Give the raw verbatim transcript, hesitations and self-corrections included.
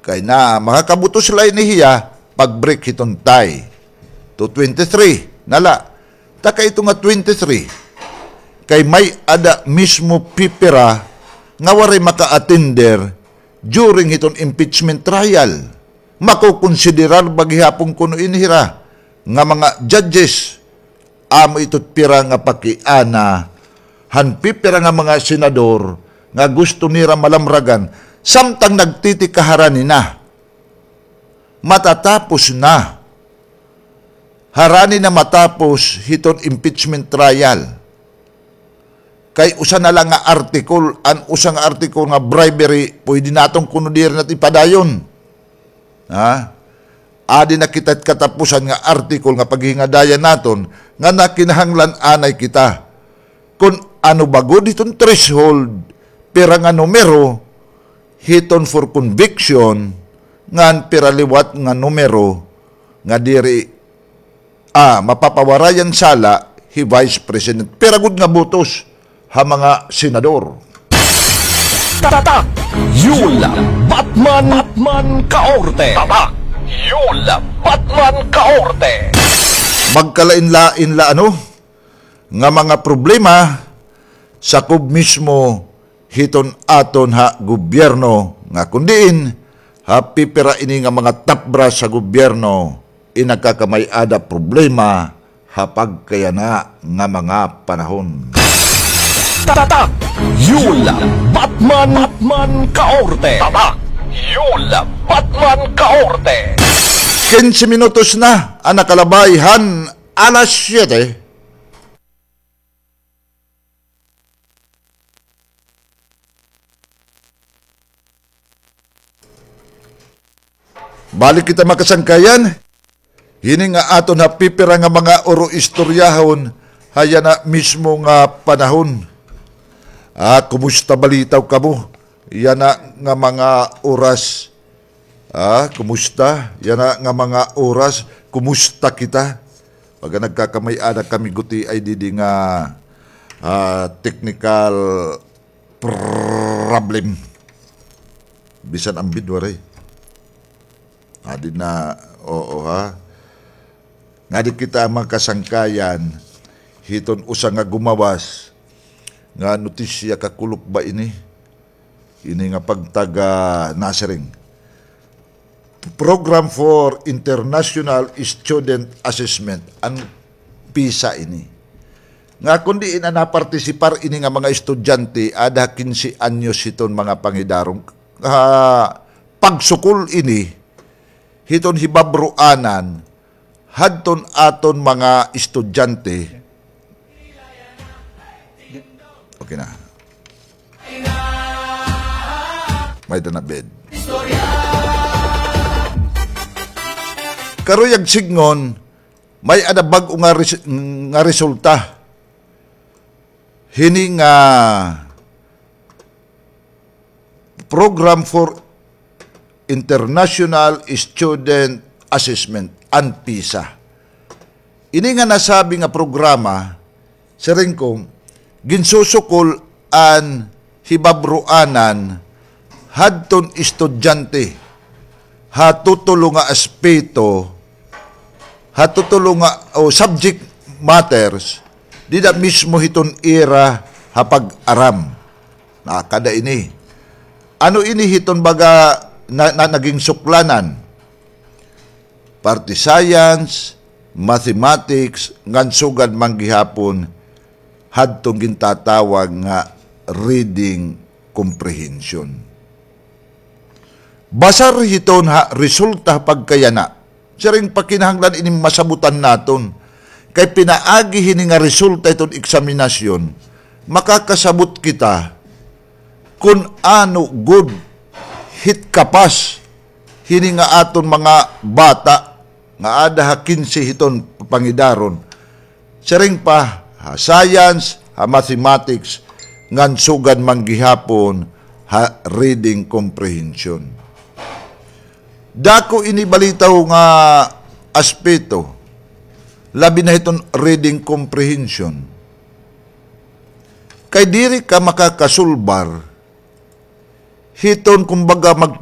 Kay na, makakabutos la ini hiya pag-break hiton tie. To twenty-three na la. Ta kay ito nga twenty-three, kay may-ada mismo pipira nga waray maka-attender during hiton impeachment trial. Makokonsiderar ba gihapon kuno ini hira nga mga judges? Amo ito pira nga pakiana han pipira nga mga senador nga gusto nira malamragan, samtang nagtitikahara ni na. Matatapos na. Harani na matapos hiton impeachment trial. Kay usa na la nga article, an usa nga article nga bribery, pwede naton kuno diri na ipadayon. Ha? Adi na kita katapusan nga article nga paghingadayan naton nga nakinahanglan anay kita. Kun ano ba gud hiton threshold, pira nga numero, hiton for conviction, ngan pira liwat nga numero nga diri, ah, mapapawarayan sala hi Vice President. Pira gud nga botos ha mga senador? Tatak Yul Batman, Batman Kaorte. Tatak Yul Batman Kaorte. Magkalain-lain la, ano, nga mga problema, sakob mismo hiton aton ha gobyerno, nga kun diin ha pipira ini nga mga top brass sa gobyerno in nagkakamay-ada problema ha pagkayana nga mga panahon. Tatak Yul Batman, Batman Kaorte. Tatak Yul Batman Kaorte. Kinse minutos na an nakalabay han alas siyete. Balik kita, mga kasangkayan. Hini nga aton ha pipira nga mga oro-istoryahon ha yana mismo nga panahon. Ah, kumusta balitaw kamo yana nga mga oras? Ah, kumusta yana nga mga oras? Kumusta kita? Pagka nagkakamay-ada kami, guti ay didi nga, ah, technical problem. Bisan an bid waray. Adi na, oo ha. Ngadi kita, mga kasangkayan, hiton usa nga gumawas nga notisya, kakulop ba ini? Ini nga pagtaga nasiring. Program for International Student Assessment, an PISA ini. Nga kun diin an napartisipar ini nga mga estudyante, ada kinse anyos hiton mga pangidaron, ha pagsukol ini hiton hibabroanan hadton aton mga estudyante. Okay na. May-ada na bid. Karuyag sidngon, may-ada bag-o nga res-, nga resulta hini nga Program for International Student Assessment, an PISA. Ini nga nasabi nga programa, siring ko, ginsusukol an hibabroanan hadton estudyante ha tutulo nga aspeto, ha tutulo nga, o subject matters, dida mismo hiton ira ha pag-aram. Na kada ini. Ano ini hiton baga na, na, naging suklanan? Parte science, mathematics, ngan sugad man gihapon hadton gintatawag nga reading comprehension. Basar hiton ha resulta pagkayana. Siring pa kinahanglan ini masabutan naton. Kay pinaagi hini nga resulta hiton eksaminasyon, makakasabot kita kun ano gud hit kapas hini nga aton mga bata nga ada ha kinse hiton pangidaron. Siring pa, ha science, ha mathematics, ngan sugad man gihapon ha reading comprehension. Dako ini balitaw nga aspeto, labi na hiton reading comprehension. Kay diri ka makakasulbar hiton, kumbaga, mag